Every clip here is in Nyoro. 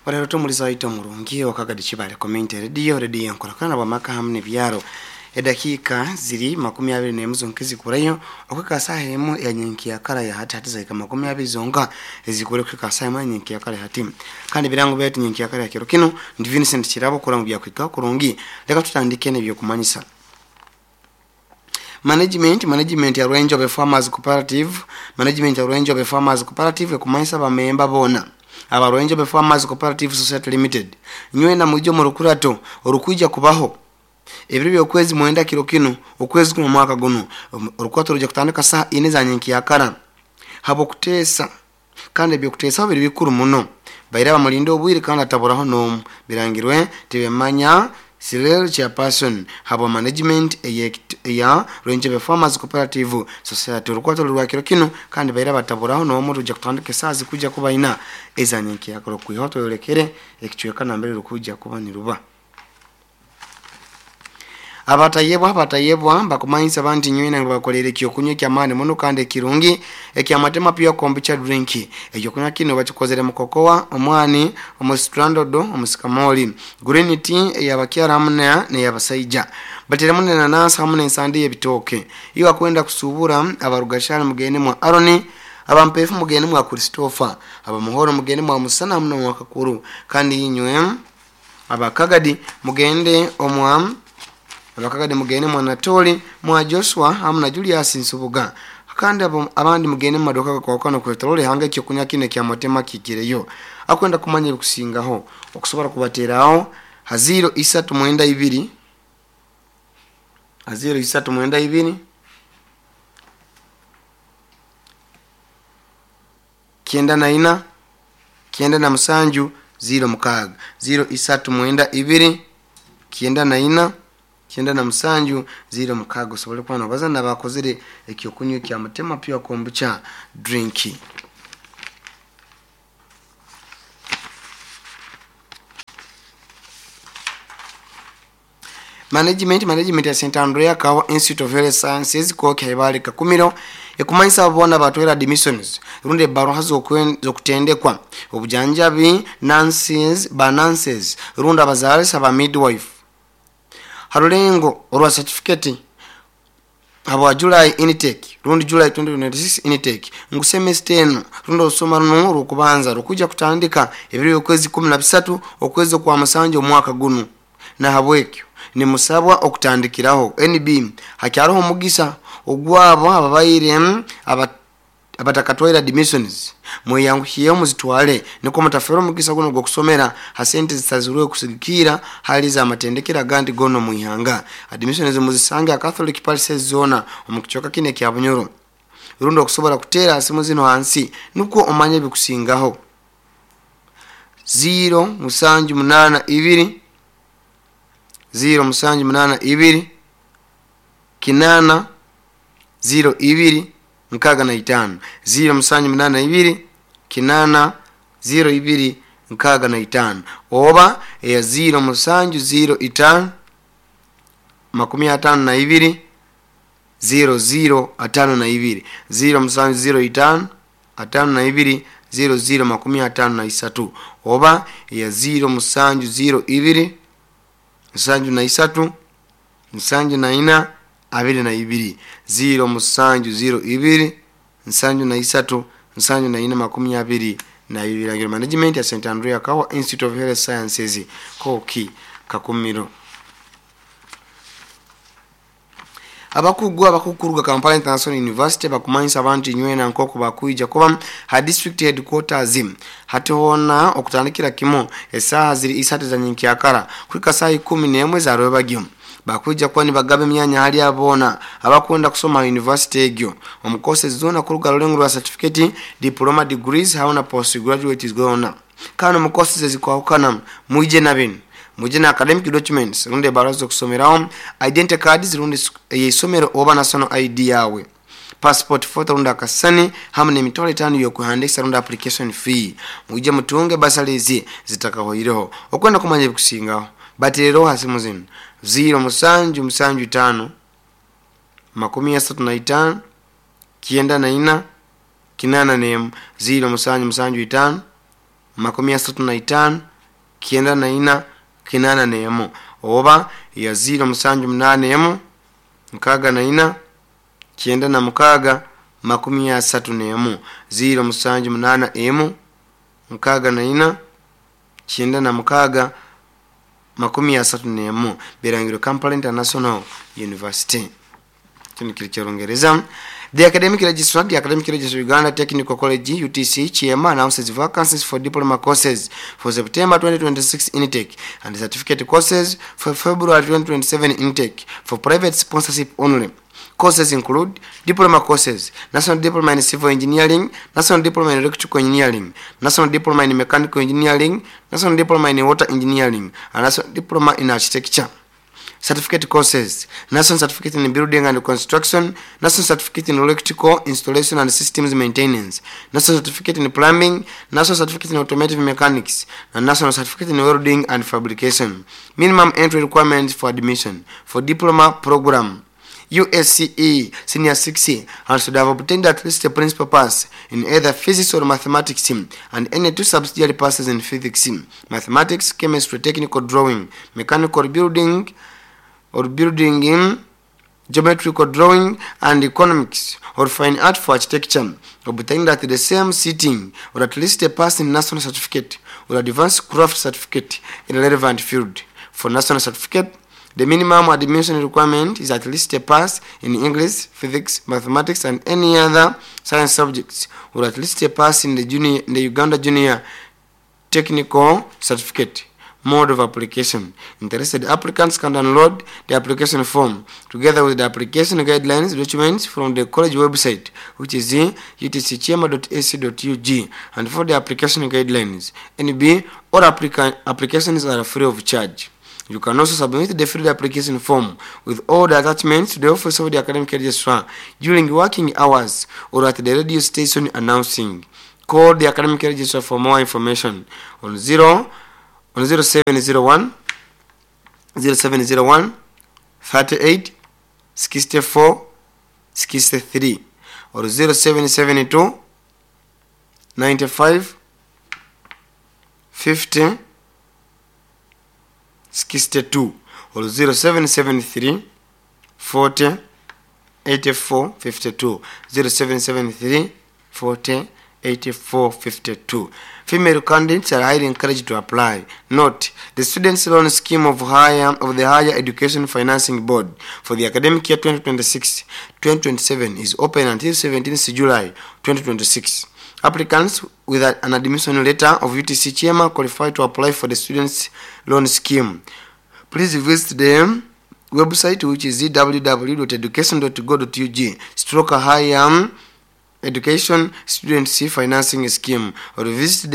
Barero tumulisa waito murungi wakagadi chibale community radio radio nkorakana bwamaka hamwe nebyaro. Edakika ziri 24 zonka ezikurayo okwika saha emu ya nyenki ya kara ya hati hati zaika 20 zonka ezikure kwika saha emu ya nyenki ya kara ya hati. Kandi birango byetu nyenki ya kara ya kiro kino ndi Vincent Kirabo kura mu byakwika kurungi. Leka tutandike n'ebyokumanyisa. Management ya Rwenjobe Farmers Cooperative, management ya Rwenjobe Farmers Cooperative ekumanyisa bamemba bona aba Rwenjobe Farmers Cooperative Society Limited nywena mujo mu rukurato orukuja kubaho ebiro by'okwezi 9 kiro kino okwezi kuno mwaka guno. Orukurato ruja kutandika saa 4 za nyenki ya kara habo kutesa, kandi ebyokutesa biri bikuru muno baira bamulinde obwire kandi ataburaho nomu birangirwe tibemanya Cyril chairperson habo management eya Rwenjobe Farmers Cooperative Society. Orukwato rwa kiro kino kandi baira bataburaho nomu ruja kutandika saa zikuja kuba ina ezanyenki yakoro kwihoto yolekere ekichweka nambere rukuja kuba niruba. Abatayebwa bakumanyisa banti nywena ngo bakolere ekyokunywa ekyamaani muno kandi ekirungi ekyamatema pure kombucha drink. Ekyokunywa kino bakikozere mu kokoa, omwani, omusitrandodo, omusikamoli, green tea eyabakyara hamwe n'eyabasaija. Bateremu n'enanasi hamwe n'ensandi y'ebitooke. Iyo akwenda kusubura abarugashara mugende mwa Aroni, abampefu mugende mwa Christopher, abamuhoro mugende mwa Musana hamwe n'omwa Kakuru. Kandi inywe abakagadi mugende omwa abakagadi mugende mwa Natoli, mwa Joshua hamwe na Julius Nsubuga. Kandi abandi mugende mu maduka kwa kano kwetorole hanga ekyokunywa kino kya matema kikireyo. Akwenda kumanya ebikusingaho okusobora kubateraho ha 0392 ha 0392 94 97 06 0392 94 97 06 osobole kuba nobaza bakozere ekyokunywa kya mutema pure kombucha drink. Management ya St. Andrea Kawa Institute of Health Sciences koki haibali kakumiro ekumanyisa abona batwera admissions runde baroha zokutendekwa obujanjabi nurses ba nurses runda abazalisa ba midwife harulengo orwa certificate habwa July intake rundi July 2026 intake ngu semester eno rundi osoma runo rukubanza rukuja kutandika ebiro okwezi 13 okwezi kwa musanju omwaka guno. Na habwekyo ni musabwa okutandikiraho NB hakyariho omugisa ogwabo ababaire abatakatwaira admissions mweyanguhiye muzitwale niko mutafera omugisa guno gwokusomera ha sente zitazirwe kusigikira hali za matendekera gandi gono muihanga. Admissions muzisange Catholic Parish zona omukichoka kine kya Bunyoro rundo okusobola kutera simu zino hansi nuko omanye bikusingaho 0 7 8 2 0 7 8 2 8 0 2 65 0 7 8 2 8 0 2 65 oba ya 0 7 0 5 52 0 0 52 0 7 0 5 52 0 0 53 oba ya 0 7 0 2 73 74 22 0 7 0 2 73 74 22. Management ya St. Andrea Kawa Institute of Health Sciences koki Kakumiro. Abakugu abakukuruga Kampala International University bakumanyisa abantu nywena nkoko bakuija kuba ha district headquarters hatihona okutandikira kimo esaha ziri isatu za nyenkyakara kwika saa 11 za rwebagyo bakuija kuba nibagaba emyanya hali abona abakwenda kusoma university egyo omukose zona kuruga rulengo rwa certificate, diploma, degrees haona postgraduate zona kano mukose zikwahukana muije na bino muje na academic documents runde barazo kusomeraho identity cards runde yisomero oba national ID yawe passport photo runda akasani hamwe n'emitwalo 5 yokuhandisa runda application fee muje mutunge basalizi zitakahoireho okwenda kumanya ebikusingaho baterero hasimu zino 0 7 7 5 35 94 81 0 7 7 5 35 94 81 oba ya 0781 64 96 31 0781 64 96 31 Birangiro Kampala International University. Kino kiri ky'Orungereza. The Academic Registrar, the Academic Registrar Uganda Technical College UTC Kyema announces vacancies for diploma courses for September 2026 intake and certificate courses for February 2027 intake for private sponsorship only. Courses include diploma courses, National Diploma in Civil Engineering, National Diploma in Electrical Engineering, National Diploma in Mechanical Engineering, National Diploma in Water Engineering, and National Diploma in Architecture. Certificate courses, National Certificate in Building and Construction, National Certificate in Electrical Installation and Systems Maintenance, National Certificate in Plumbing, National Certificate in Automotive Mechanics, and National Certificate in Welding and Fabrication. Minimum entry requirements for admission for diploma program: USCE Senior 6 and should have obtained at least a principal pass in either physics or mathematics and any two subsidiary passes in physics, mathematics, chemistry, technical drawing, mechanical building or building in geometrical drawing and economics or fine art for architecture obtained at the same sitting, or at least a pass in national certificate or advanced craft certificate in a relevant field. For national certificate, the minimum admission requirement is at least a pass in English, physics, mathematics and any other science subjects, or at least a pass in the Uganda Junior Technical Certificate. Mode of application: Interested applicants can download the application form together with the application guidelines documents from the college website, which is utckyema.ac.ug, and for the application guidelines. NB, all applications are free of charge. You can also submit the filled application form with all the attachments to the office of the academic registrar during working hours or at the radio station announcing. Call the academic registrar for more information on 0 on 0701 0701 38 64 63 or 0772 95 50 62 or 0773 40 84 52, 0773 40 84 52. Female candidates are highly encouraged to apply. Note, the students loan scheme of the Higher Education Financing Board for the academic year 2026 2027 is open until 17th July 2026. Applicants with an admission letter of UTC Kyema qualify to apply for the students loan scheme. Please visit the website, which is www.education.go.ug/higher education students financing scheme, or visit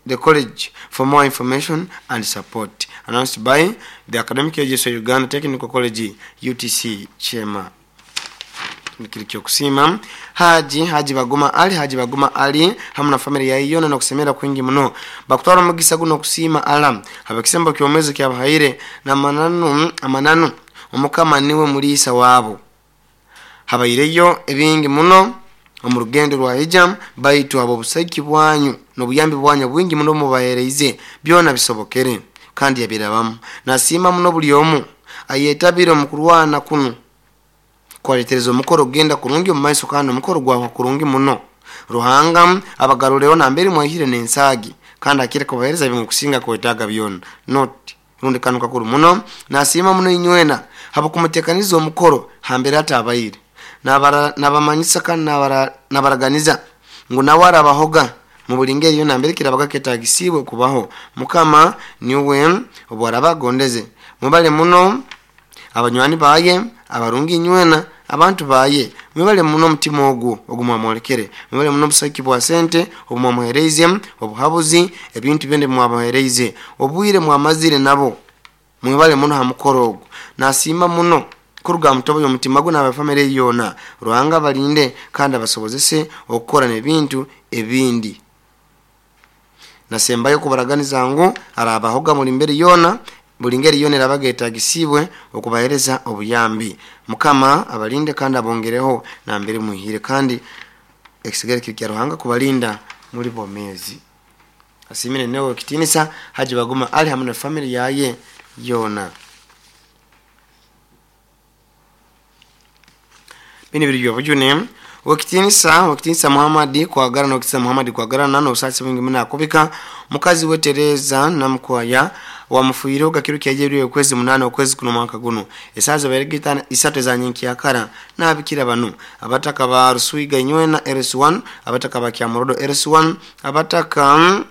the college for more information and support. Announced by the Academic Registrar, Uganda Technical College UTC Kyema. Kiri kyokusiima Haji, Haji Baguma Ali, Haji Baguma Ali hamu na family yaye yona nokusemera kwingi muno. Bakutwara omugisa guno okusiima ala abakisembo kyomezi kyabahaire namananu amananu Omukama niwe muliisa waabo. Habaireyo ebingi muno omu rugendo rwa hijam, baitu abo obusaiki bwanyu n'obuyambi bwanyu bwingi muno mubahereize byona bisobokere kandi yabirabamu. Nasiima muno buli omu ayetabire omu kurwana kunu kwaletereza omukoro kugenda kurungi omu maiso, kandi omukoro gwahwa kurungi muno. Ruhanga abagarureho nambere mwahire n'ensaagi kandi akire kubahereza bimukusinga kwetaaga byona. Note, rundi kanu kakuru muno, nasiima muno inywena habwokumuteekaniza omukoro hambere atabaire. Nabamanyisa kandi nabaraganiza ngu nawe arabahoga mu buli ngeri yona mbere kirabaga ketagisiibwe kubaho, Mukama niwe obwaraba agondeze. Mwebale muno abanywani baye abarungi, inywena abantu baye, mwebale muno omutima ogwo ogumwamwolekere. Mwebale muno obusaiki bwa sente obumwamuhereize, obuhabuzi, ebintu byona ebimwamuhereize, obwire mwamazire nabo. Mwebale muno ha mukoro ogwo. Nasiima muno kuruga mutobo y'omutima gwe n'abafamire yoona. Ruhanga abalinde kandi abasobozese okukora n'ebintu ebindi. Nasembayo kubaraganiza ngu arabahoga buli mbere yoona, buli ngeri yoona erabaga etagisiibwe okubahereza obuyambi. Mukama abalinde kandi abongereho nambere mwihire, kandi ekisigara kiri kya Ruhanga kubalinda muri bomezi. Asiimire newe Owekitiinisa Haji Baguma Ali hamu na family yaye yoona. Binu biri by'obujune. Owekitiinisa Owekitiinisa Muhammad Kwagarana Owekitiinisa Muhammad Kwagarana n'obusaasi bwingi muno akubika mukazi we Tereza Namukwaya owamufiireho gakiro kyaija ebiro by'okwezi munana okwezi kuno omwaka gunu esaaha zibaire itano isatu eza nyenkyakara. Nabikira banu abataka ba Ruswiga Inywena LC1, abataka ba Kyamorodo LC1, abataka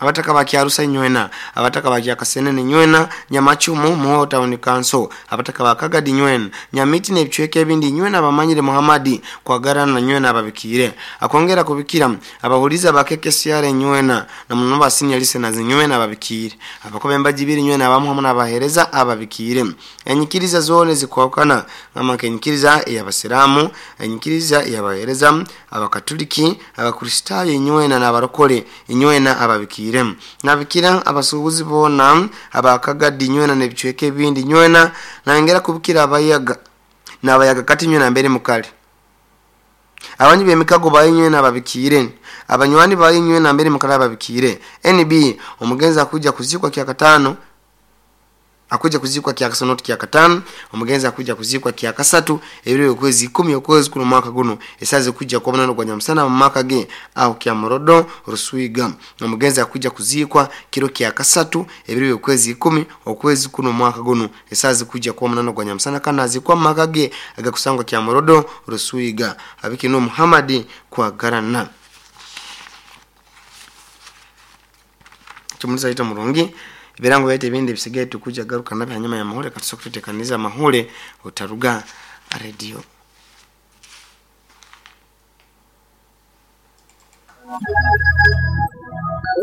Abataka ba Kyarusa inywena, abataka ba Kyakasenene inywena, Nyamacumu, Muhoro Town Council, abataka ba Kagadi inywena, Nyamiti n'ebicweka ebindi inywena abamanyire Muhammad Kwagarana nywena ababikiire. Akwongera kubikira abahulizi aba KKCR inywena na muno ba senior listeners inywena ababikiire. Abakuba embaji ibiri inywena abamu hamu n'abaheereza ababikiire. Enyikiriza zoona ezikwahukana gamba nk'enyikiriza ey'Abasiraamu, enyikiriza ey'abaheereza, Abakatuliki, Abakristaayo inywena n'abarokole inywena ababikiire. Nabikira abasuubuzi boona aba Kagadi inywena n'ebicweka ebindi inywena. Nayongera kubikira abayaga n'abayaga kati inywena nambere mukali. Abanywi b'emikago bayo inywena ababikiire. Abanywani bayo inywena nambere mukali ababikiire. NB, Omugenzi akwija kuziikwa Kyakataano. Akwija kuziikwa Kyakasatu not Kyakataano. Omugenzi akwija kuziikwa Kyakasatu ebiro by'okwezi ikumi okwezi kuno omwaka gunu esaaha zikuija kuba munana ogwa nyamusana omu maka ge aho Kyamorodo, Ruswiga. Omugenzi akwija kuziikwa kiro Kyakasatu ebiro by'okwezi ikumi okwezi kuno omwaka gunu esaaha zikuija kuba munana ogwa nyamusana kandi naziikwa omu maka ge agakusangwa Kyamorodo, Ruswiga. Abiki nuwe Muhammad Kwagarana. Kimulisa aita murungi. Ebirango byaitu ebindi ebisigaire tukuja garuka nabyo hanyuma y'amahule. Katusoke tutekanize amahule otaruga radio.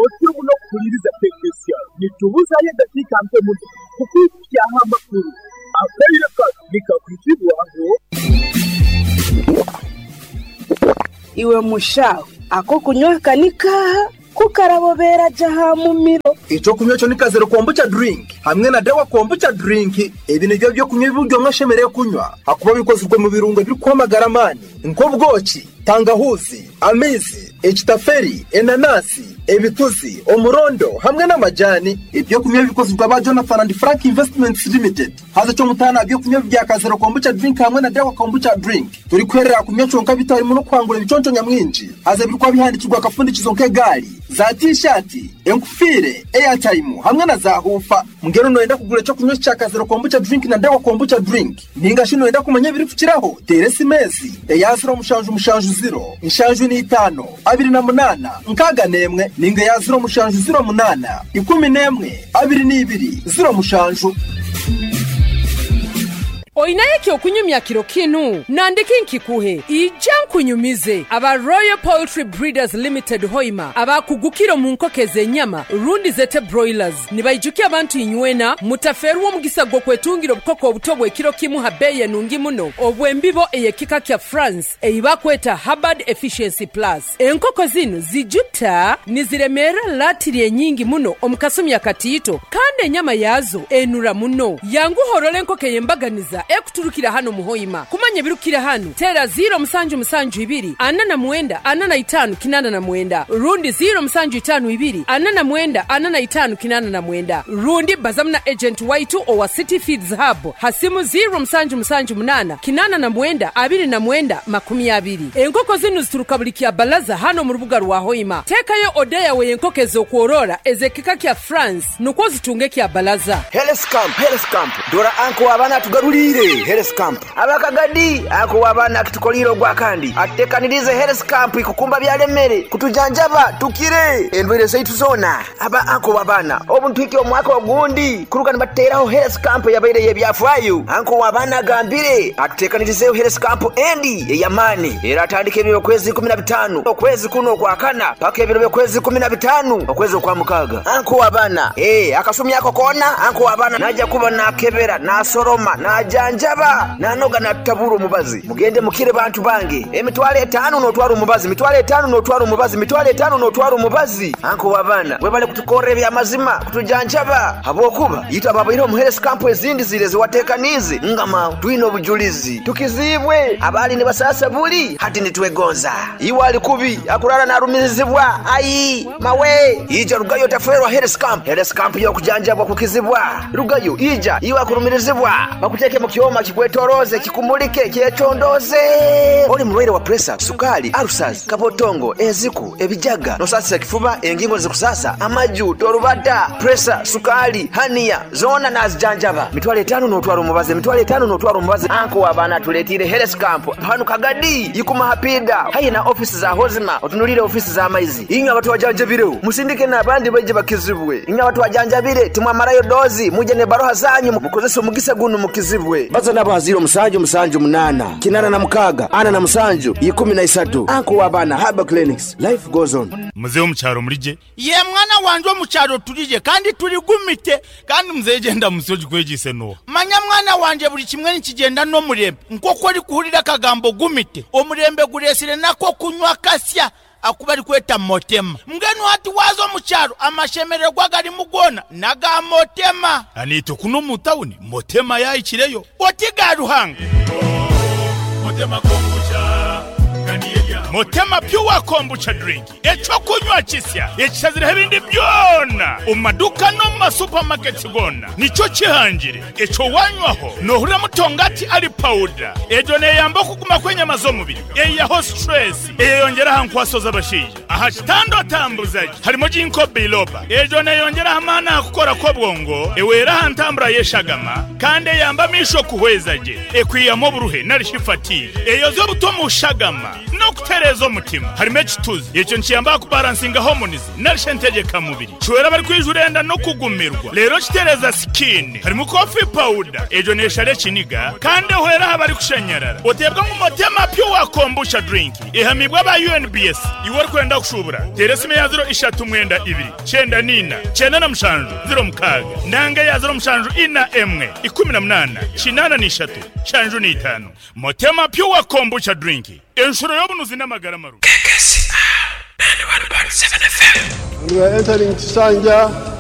Otyo muno kuhuliiriza KKCR. Nitubuzayo edakiika nke muno kukwikukyaho amakuru. Akaire kanu nikakwizibwaho. Iwe mushaho, ak'okunywa aka ni kaaha? Ku karabobera gye aha mumiro. Ekyokunywa ekyo ni Kazero Kombucha Drink hamwe na Dawa Kombucha Drink. Ebi nibyo by'okunywa ebi buri omwe ashemereire kunywa ahakuba bikozirwe omu birungo ebirikuha amagara amaani nk'obwoki, tangahuuzi, amaizi, ekitaferi, enanasi, ebituzi, omurondo hamwe n'amajani. Eby'okunywa ebi bikozirwe aba Jonathan and Frank Investments Limited. Haza eky'omutaano aha by'okunywa ebi bya Kazero Kombucha Drink hamwe na Dawa Kombucha Drink, torikuherera aha kunywa kyonka beitu harimu n'okuhangura ebiconco nyamwingi. Haza ebirikuba bihandiikirwe aha kafundikizo nk'egaari, za tiishaati, enkufiire, eyatayimu hamwe na zaahuufa. Mbwenu nooyenda kugura eky'okunywa eki kya Kazero Kombucha Drink na Dawa Kombucha Drink? Nainga shi nooyenda kumanya ebirikukiraho? Teera esimu ezi, eya ziro mushanju mushanju ziro, nshanju n'eitaano, abiri na munaana, nkaaga n'emwe, nainga eya ziro mushanju ziro munaana, ikumi n'emwe, abiri n'ibiri, ziro mushanju. Oinayo eky'okunyumya kiro kinu? Nandiki nkikuhe? Ija nkunyumize. Aba Royal Poultry Breeders Limited Hoima abakugukire omu nkoko ez'enyama rundi zete broilers nibaijukya abantu inywena mutafeerwa omugisa gw'okwetungira obukoko obuto obw'ekiro kimu ha beeyi enungi muno obw'embibo ey'ekika kya France ei bakweta Hubbard Efficiency Plus. Enkoko zinu zijuta niziremeera latiri enyingi muno omu kasumi akatiito kandi enyama yaazo enura muno. Yanguha orole enkoko ey'embaganiza ekuturukira hanu omu Hoima. Kumanya ebirukukira hanu, teera ziiro musanju musanju ibiri ana na mwenda ana na itaanu kinaana na mwenda rundi ziiro musanju itaanu ibiri ana na mwenda ana na itaanu kinaana na mwenda rundi bazamu na agent waitu owa City Feeds Hub ha simu ziiro musanju musanju munaana kinaana na mwenda abiri na mwenda makumi abiri. Enkoko zinu zituruka buli Kyabalaza hanu omu rubuga rwa Hoima. Teekayo oda yawe y'enkoko ez'okworora ez'ekika kya France nukwo ozitunge Kyabalaza. Health Camp, Health Camp, dora anko w'abaana atugaruliire Health Camp. Abakagadi, anko w'abaana akitukoliire ogwakandi, atutekaniriize Health Camp ikukumba byalemere, kutujanjaba tukire endwaire zaitu zoona. Aba anko w'abaana, obu nituhikya omwaka ogundi kuruga nibatuteraho Health Camp eyabaire ey'ebyafaayo. Anko w'abaana agambire atutekanirizeeho Health Camp endi ey'amaani eratandika ebiro by'okwezi 15 okwezi kunu okwakana paka ebiro by'okwezi 15 okwezi okwamukaaga. Anko w'abaana, ee, akasumi ako koona anko w'abaana naija kuba naakebera, naasoroma, naajanjaba. Natujanjaba nanoga natutabura omubazi. Mugende mukire bantu bange. 50,000 n'otwara omubazi, 50,000 n'otwara omubazi, 50,000 n'otwara omubazi. Anko w'abaana webale kutukorra ebyamazima kutujanjaba habwokuba itwe ababaire omu health camp ezindi zire ziwatekaniize ngama twine obujulizi tukizibwe abali nibasasa buli hati nitwegonza. Iwe ali kubi akurara narumirizibwa ai mawe ija rugayo taferwa health camp. Health camp yokujanjabwa kukizibwa rugayo ija iwe akurumirizibwa bakuteke mu kyoma kikwetoroze kikumulike kyecondoze. Oli mulwaire wa pressure, sukali, ulcers, kabotongo, eziku, ebijaga, nosasisa kifuba, engingo zikusasa, amaju, torubata, pressure, sukali, hania zona nazijanjaba. 50,000 n'otwara omubazi, 50,000 n'otwara omubazi. Anko w'abaana tuletire health camp hanu Kagadi ikuma hapida hayi na ofisi za hozima otunulire ofisi za maizi. Inywe abantu wajanjabireho musindike n'abandi baje bakizibwe. Inywe abantu wajanjabire timwamarayo dozi muje ne baroha zanyu mukozese omugisa gunu mukizibwe. Baza nabo haziro 7 7 8 86 47 13. Anko w'abaana Herbal Clinics, life goes on. Muzehe omukyaro murije ye mwana wanje omukyaro turije kandi turigumite kandi muzehe genda musoji kwegise no manya mwana wanje buli kimwe nikigenda n'omurembe nk'oku ori kuhurira akagambo gumite omurembe guresire nako kunywa kasya akuba ari kweta motema. Mbwenu hati waza omukyaro amashemererwa garimu gona naga motema. Anito kuno mu tawuni motema yayikireyo oti ga Ruhanga. Motema kombucha Motema pure kombucha drink ekyokunywa kisya ekisazire ebindi byona omu maduka no mu masupamaketi gona nikyo kihangire. Ekyo wanywaho nohurira mutongati ali powder ejo neyamba okuguma kw'enyama z'omubiri eyaho stress eyeyongera aha nkwaso z'abashaija aha kitando atambuzaji harimo ginkgo biloba ejo neyongera aha maani aha kukora kw'obwongo ewera aha ntambura y'eshagama kandi eyamba amisho kuhweza gye ekwiyamu oburuhe narishi fatigue eyoza obuto mu shagama n'okutereeza omutima. Harimo ekituzi ekyo nikiyamba kubalansinga hormones narishe ntegeka mubiri kiwera bari kwijurenda no kugumirwa rero kitereza skin. Harimo coffee powder ejo neshare ekiniga kandi ehwera aha bari kushanyarara otebwa ngu Motema pure kombucha drink ehamibwa ba UNBS. Iwe ori kwenda kushubura tera esimu ya 0 3 92 94 97 06 nanga ya 07 4 1 18 83 75. Motema pure kombucha drink enshuro y'obunuzi n'amagara maru. KKCR 91.7 FM. We are entering Kisanja.